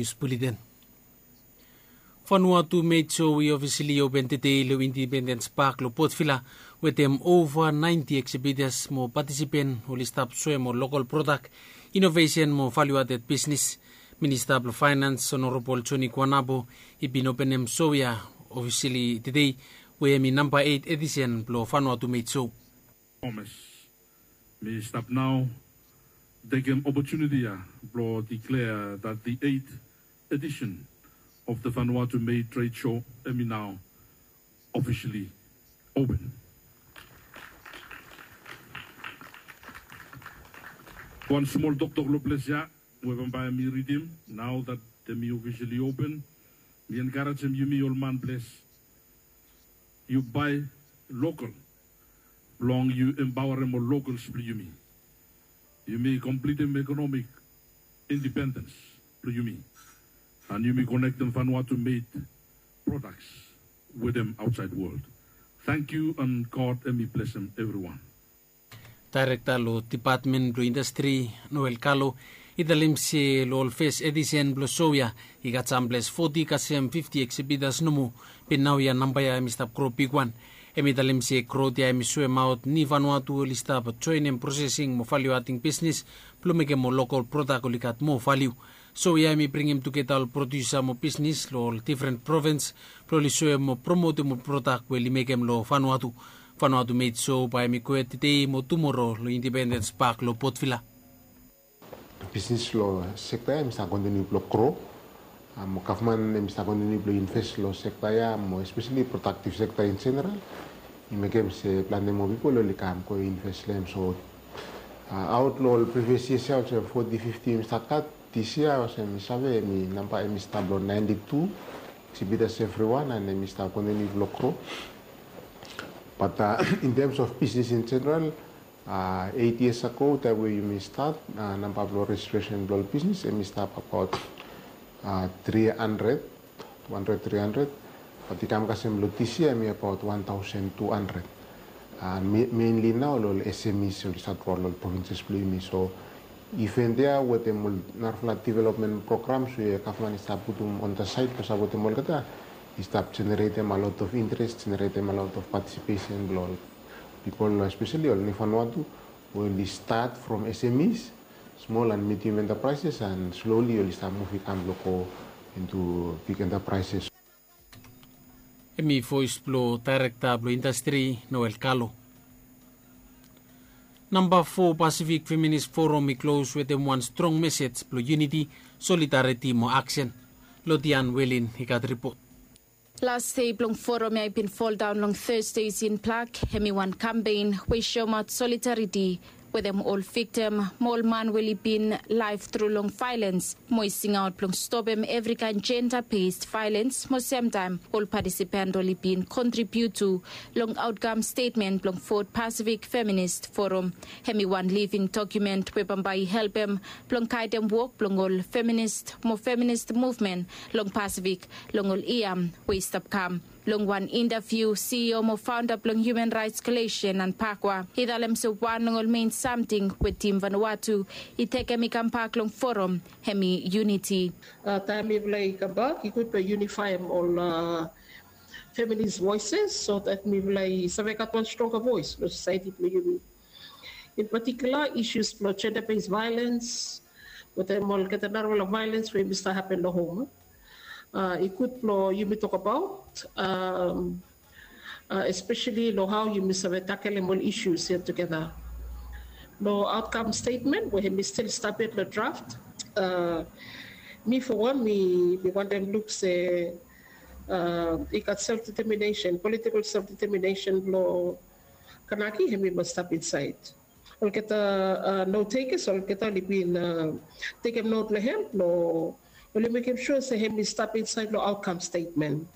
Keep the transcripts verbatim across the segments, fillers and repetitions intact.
Nius Buleten. Vanuatu Made Show i ofisili open tedei long Independens Pak long Potvila, wetem ova naenti eksibitas mo patisipen oli stap soem ol lokal prodak, inovesen mo valiuated bisnis. Minista blong Faenans Honorabol Joni Kuanabo i bin openem show ya ofisili tedei, we hem i namba eit edisen blong Vanuatu Made Show. Promise. Mi stap nao tekem opotuniti ya blong declare that the eighth edition of the Vanuatu Made Trade Show hem i nao officially open. Wan smol toktok long ples ya we bambae mi ridim. Now that hem i officially open, mi enkarejem yumi ol manples, yu bae lokal blong yu empaorem ol lokals blong yumi. Yumi komplitem ekonomik independens blong yumi, and yumi konektem Vanuatu made products wetem aotsaed wol. Tangkiu and God hem i blesem evriwan. Daerekta long Depatmen blong Indastri, Noel Kalo, i talem se long ol fes edisen blong show ya i gat samples foti kasem fifti eksibitas nomo, be naoia namba ya hem i stap gro bigwan. Hem i talem se grot ya hem i soemaot ni Vanuatu oli stap joenem prosesing mo valiuating bisnis blong mekem ol lokal prodak oli gat moa valiu. Show ya hem i bringim tugeta ol prodiusa mo bisnis long ol difren provens blong oli soem mo promotem ol prodak we oli mekem long Vanuatu. Vanuatu Made Show bae hem i gohed tedei mo tumoro long Independens Pak long Potvila. Bisnis long sekta ya hem i stap kontiniu blong gro. Mo gavman hem i stap kontiniu blong inves long sekta ya mo espeseli prodaktiv sekta in jeneral. I mekem se plante moa pipol oli kam go inves long hem. So aot long ol privias yias ya olsem foti fifti hem i stap gat, dis yia olsem mi save hem i namba hem i stap long naenti tu eksibitas evriwan and hem i stap kontiniu blong gro. Bat in tems of bisnis in jeneral, eit yias ago taem we yumi stat, namba blong rejistresen blong ol bisnis hem i stap abaot tri handred, tu handred, tri handred. Bat i kam kasem long dis yia hem i abaot wan taosen tu handred. Menli nao long ol S M Es oli stat long ol provinses blong yumi. So iven ya wetem ol narafala developmen programs we gavman i stap putum on the side blong sapotem olgeta i stap jeneretem a lot of interes, jeneretem a lot of patisipesen blong ol pipol, espeseli ol ni Vanuatu we oli stat from S M Es, smol and medium enterprises, and slowly oli stap muv i kam blong go into big enterprises. Hem i voes blong daerekta blong indastri, Noel Kalo. Namba fo Pacific Feminist Forum i klos wetem wan strong mesej blong yuniti, solidariti mo aksen. Lotian Welin i gat ripot. Las dei blong forum ya i bin foldaon long Thursday in Plak, hem i wan kampen we i soemaot solidariti wetem ol viktim mo ol man we oli bin laef tru long vaelens, mo i singaot blong stopem evri kaen jenda-bes vaelens, mo semtaem ol patisipant oli bin kontribiut tu long aotkam stetmen blong Fot Pacific Feminist Forum. Hem i wan living dokiumen we bambae i helpem blong gaedem wok blong ol feminist mo feminist muvmen long Pasifik long ol yia we i stap kam. Long wan intaviu, C E O mo faonda blong Human Rights Coalition, Anne Pakwa, i talem se wan long ol men samting we Tim Vanuatu i tekem i kambak long forum, hem i yuniti. Taem mifala i kambak, i gud blong yunifaem ol feminist voeses so that mifala i save gat wan stronga voes long sosaeti blong yumi. In patikula, isus blong jenda-bes vaelens wetem olgeta narafala vaelens we yumi stap hapen long hom. I gud blong yumi tokbaot, espeseli long hao yumi save takelem ol isus ya tugeta. Long aotkam stetmen we hemi stil stap yet long draft, mi fo wan mi wantem luk se i gat self deteminesen, politikol self deteminesen blong Kanaki, hemi mas stap insaed. Olgeta not takers, olgeta oli bin tekem not long hem blong oli mekem sua se hemi stap insaed long aotkam stetmen.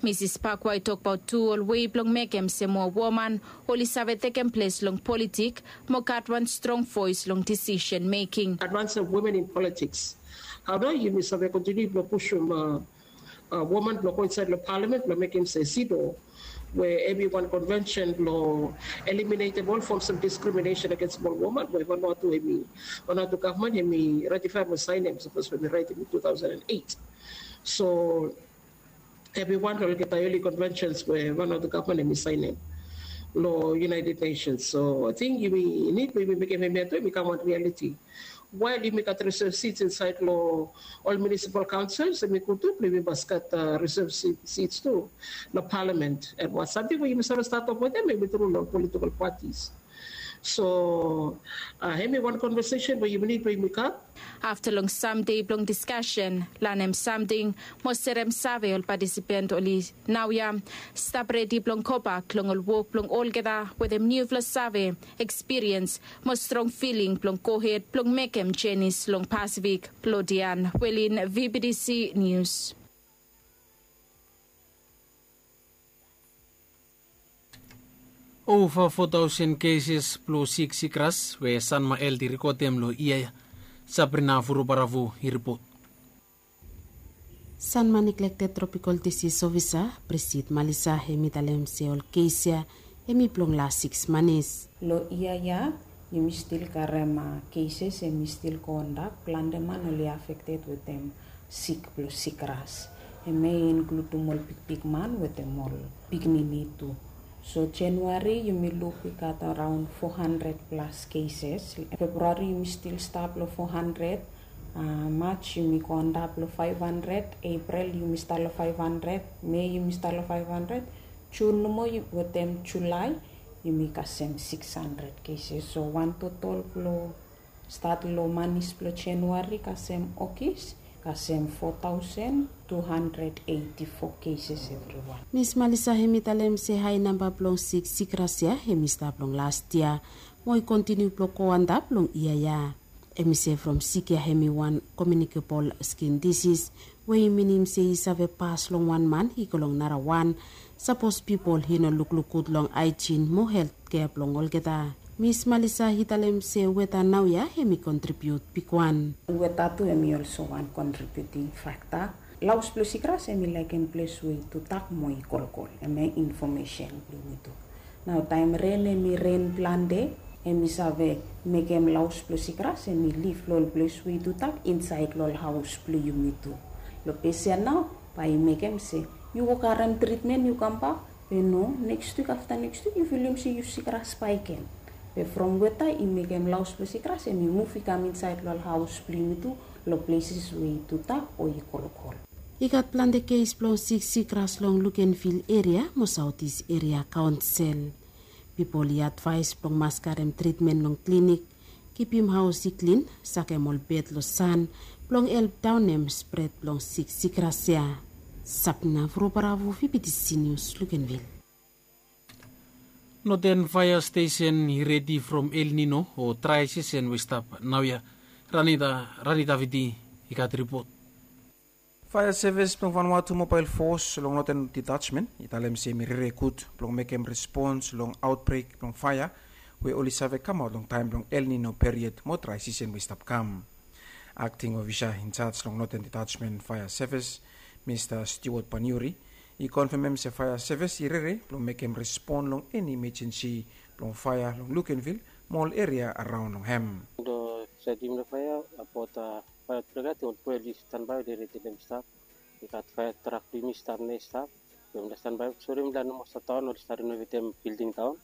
Misis Pakwa i tokbaot tu ol wei blong mekem se moa woman oli save tekem ples long politik mo gat wan strong voes long disisen meking. Advance of women in politics. Hao nao yumi save kontiniu blong pusum woman blong go insaed long palamen blong mekem se CEDAW we hemi wan konvensen blong eliminatem ol fom sem diskriminesen agens smol woman we Vanuatu hemi, Vanuatu gavman hemi ratifaem we saenem sapos we mi raetem in two thousand and eight. So hemi wan long olgeta eoli konvensens we Vanuatu gavman hemi saenem long United Nations. So ating yumi nid we yumi mekem hemia tu hemi kam wan rialiti. Wael yumi gat resev sits insaed long ol munisipal kaonsel, hemi gud tu blong yumi mas gat resev sits tu long palamen. An wan samting we yumi save stat of wetem hemi tru long ol politikal patis. So hemi wan konvesesen we yumi nid we yumi gat. Afta long sam dei blong diskasen, lanem samting mo serem save ol patisipant oli naoia stap redi blong gobak long ol wok blong olgeta wetem niufala save, ekspiriens mo strong filing blong gohed blong mekem jenis long Pasifik. Lodian Welin, V B T C Nius. Ova fo taosen keses blong sik sikras we Sanma Health i rekodem long yia ya. Sabrina Vurubaravu i ripot. Sanma Neglected Tropical Disease Officer Presid Malisa hemi talem se ol kes ya hemi blong las siks manis. Long yia ya yumi stil karem keses hemi stil go antap, plante man oli afekted wetem sik blong sikras. Hemia i inkludum ol bigbigman wetem ol pikinini tu. So Januari yumi luk i gat araon fo handred plas keses. Februari yumi stil stap long fo handred. Maj yumi go antap long faef handred. Epril yumi stap long faef handred. Mei yumi stap long faef handred. Jun nomo wetem Julae yumi kasem siks handred keses. So wan totol blong stat long manis blong Januari kasem Ogis kasem fo taosen tu handred eiti fo keses evriwan. Mis Malisa hemi talem se hae namba blong sik sikras ya hemi stap long las yia mo i kontiniu blong go antap long yia ya. Hemi se from sik ya hemi wan komiunikebol skin disis we i minim se i save pas long wan man i go long narawan sapos pipol i no lukluk gud long aejin mo heltkea blong olgeta. Mis Malisa i talem se weta naoia hemi kontribiut bigwan. Weta tu hemi olso wan kontribiuting fakta. Laos blong sikras hemi laekem ples we i tutak mo i kolkol. Hemia infomesen blong yumi tu. Nao taem ren hemi ren plante hemi save mekem laos blong sikras hemi lif long ol ples we i tutak insaed long ol haos blong yumi tu. Long pes ya nao bae i mekem se yu go karem tritmen yu kambak, be no, neks wik afta neks wik yu filim se yu sikras bakegen. Be from weta i mekem laos blong sikras hemi muv i kam insaed long ol haos blong yumi tu long pleses we i tutak o i kolkol. I gat plante kes blong sik sikras long Lukenvil eria mo Saotis Eria Kaonsel. Pipol i advaes blong mas karem tritmen long klinik, kipim haos i klin, sakem ol bed long san blong help daonem spred blong sik sikras ya. Sapna Vurubaravu, V B T C Nius, Lukenvil. Noten faea stesen i redi from El Nino o drae sisen we i stap naoia. Ranita, Ranita Viti i gat ripot. Faea sevis blong Vanuatu Mobael Fos long Noten Ditajmen i talem se hemi rere gud blong mekem respons long aotbrek blong faea we oli save kamaot long taem blong El Nino period mo drae sisen we i stap kam. Akting ofisa injaj long Noten Ditajmen Faea Sevis, Mista Stewart Paniuri, i konfemem se faea sevis i rere blong mekem respon long eni imejensi blong faea long Lukenvil mo ol eria araon long hem. Long saed blong faea, abaot faea aotbrek ya, ating ol boe oli stanbae, oli redi long hem i stap. I gat faea trak blong yumi i stap nao i stap. Yumi lae stanbae, sori, yumi lae nomo stap daon, oli stap renovetem bilding daon.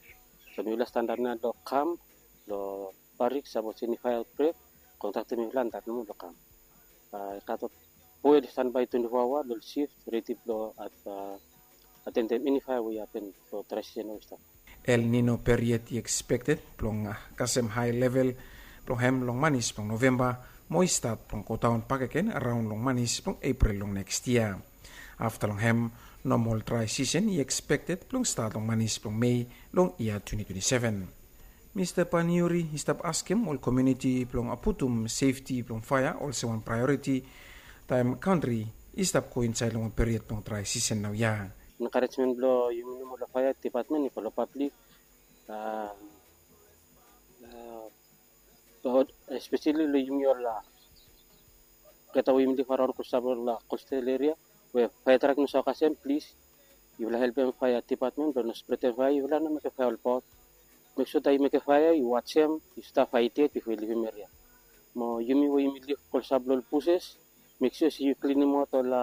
So mifala i stanap nao long kam long barik, sapos eni faea aotbrek, kontrakta mifala antap nomo long kam. I gat ol boe oli stanbae twenti fo aoa long ol sif, redi blong atendem eni faea we i hapen long drae sisen we i stap. El Nino period i ekspekted blong kasem hae level blong hem long manis blong Novemba mo i stat blong godaon bakegen araon long manis blong Epril long neks yia. Afta long hem, nomol drae sisen i ekspekted blong stat long manis blong Mei long yia twenti twenti seven. Mista Paniuri i stap askem ol komuniti blong putum sefti blong faea olsem wan praeoriti taem kantri i stap go insaed long wan period blong drae sisen naoia. Enkarejmen blong yumi nomo long faea dipatmen i go long pablik, espeseli long yumi ol olgeta we yumi lif araon klosap long kostal eria we faea trak i no save kasem, plis yufala helpem faea dipatmen blong no spretem faea, yufala no mekem faea olbaot. Mek sua dat yu mekem faea, yu wajem, yu stap faet yet bifo yu livim eria. Mo yumi we yumi liv klosap long ol buses, mek sua se yu klinemaot ol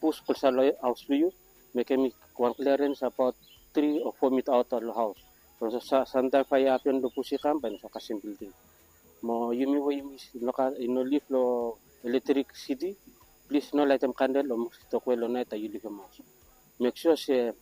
bus klosap long haos blong yu, mekem wan klerens abaot tri o fo mita aot long haos. Bikos samtaem faea i hapen long bus i kam, bae i no save kasem bilding. Mo yumi we yumi no liv long elektrik siti, plis no laetem kandel o moskito kwel long naet taem yu livim haos. Mek sua se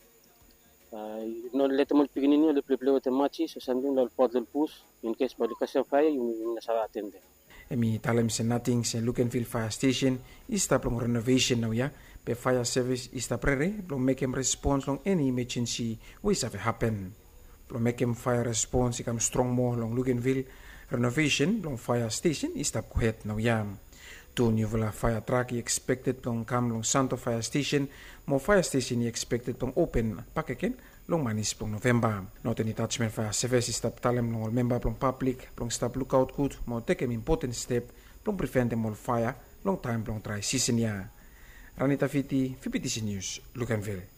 yu no letem ol pikinini oli pleplei wetem matsis o samting long ol botol bus, in kes bae oli kasem faea, yumi no save atentem. Hem i talem se nating se Luganville Faea Stesen i stap long renovesen naoia, be faea sevis i stap rere blong mekem respons long eni imajensi we i save hapen. Blong mekem faea respons i kam strong moa long Luganville, renovesen blong faea stesen i stap gohed naoia. Tu niufala faea trak i ekspekted blong kam long Santo Faea Stesen, mo faea stesen i ekspekted blong open bakegen long manis blong Novemba. Northern Detachment Fire Service i stap talem long ol memba blong pablik blong stap lukaot gud mo tekem impoten step blong priventem ol faea long taem blong drae sisen ya. Ranita Fiti, V B T C News, Luganville.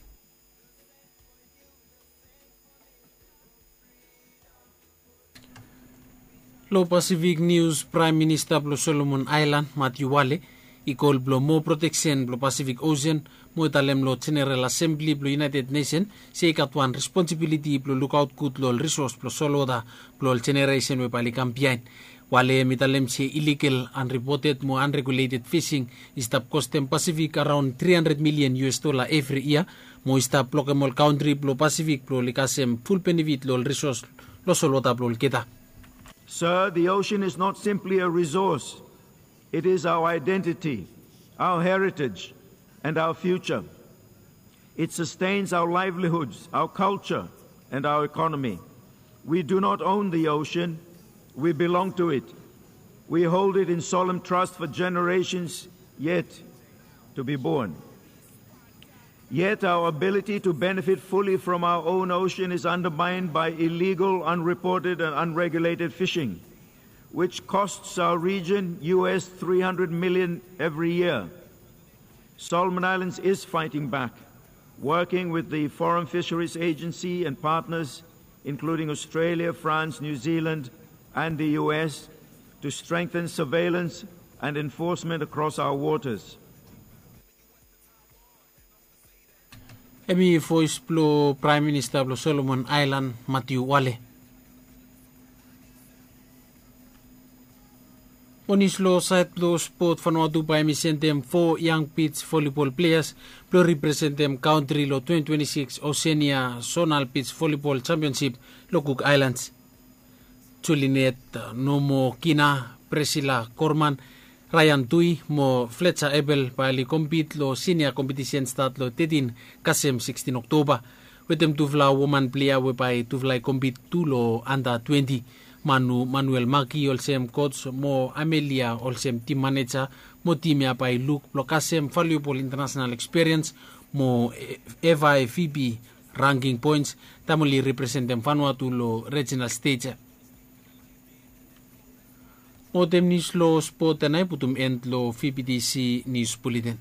Long Pasifik nius, Praem Minista blong Solomon Aelan, Matiu Wale, i kol blong moa proteksen blong Pasifik Osen, mo i talem long Jeneral Asembli blong United Nesen se i gat wan responsibiliti blong lukaot gud long ol risos blong solwota blong ol jeneresen we bae oli kam biaen. Wale hem i talem se iligal, anripoted mo anreguleted fising i stap kostem Pasifik araon tri handred milian U S dola evri yia, mo i stap blokem ol kantri blong Pasifik blong oli kasem ful benefit long ol risos long solwota blong olgeta. Sir, the ocean is not simply a resource. It is our identity, our heritage, and our future. It sustains our livelihoods, our culture, and our economy. We do not own the ocean. We belong to it. We hold it in solemn trust for generations yet to be born. Yet our ability to benefit fully from our own ocean is undermined by illegal, unreported, and unregulated fishing, which costs our region U S three hundred million every year. Solomon Islands is fighting back, working with the Foreign Fisheries Agency and partners, including Australia, France, New Zealand, and the U S, to strengthen surveillance and enforcement across our waters. Hem i voes blong Praem Minista blong Solomon Aelan, Matiu Wale. Mo nius long saed blong spot, Vanuatu bae hem i sendem fo yang bij volleyball pleas blong representem kantri long twenty twenty-six Oceania Zonal Beach Volleyball Championship long Cook Islands. Julinet Nomokina, Priscilla Korman, Ryan Tui mo Fletcher Ebel bae oli kompit long sinia kompetisen stat long tetin kasem sikstin Oktoba. Wetem tufala woman plea we bae tufala i kompit tu long anda twenti. Manu Manuel Maki olsem kots mo Amelia olsem tim maneja, mo tim ya bae i luk blong kasem valuebol intanasenal ekspiriens mo FIVB rangking poens taem oli representem Vanuatu long rijinal stej ya. Mo wetem nius long spot ya nao i putum en long VBTC Nius Buleten.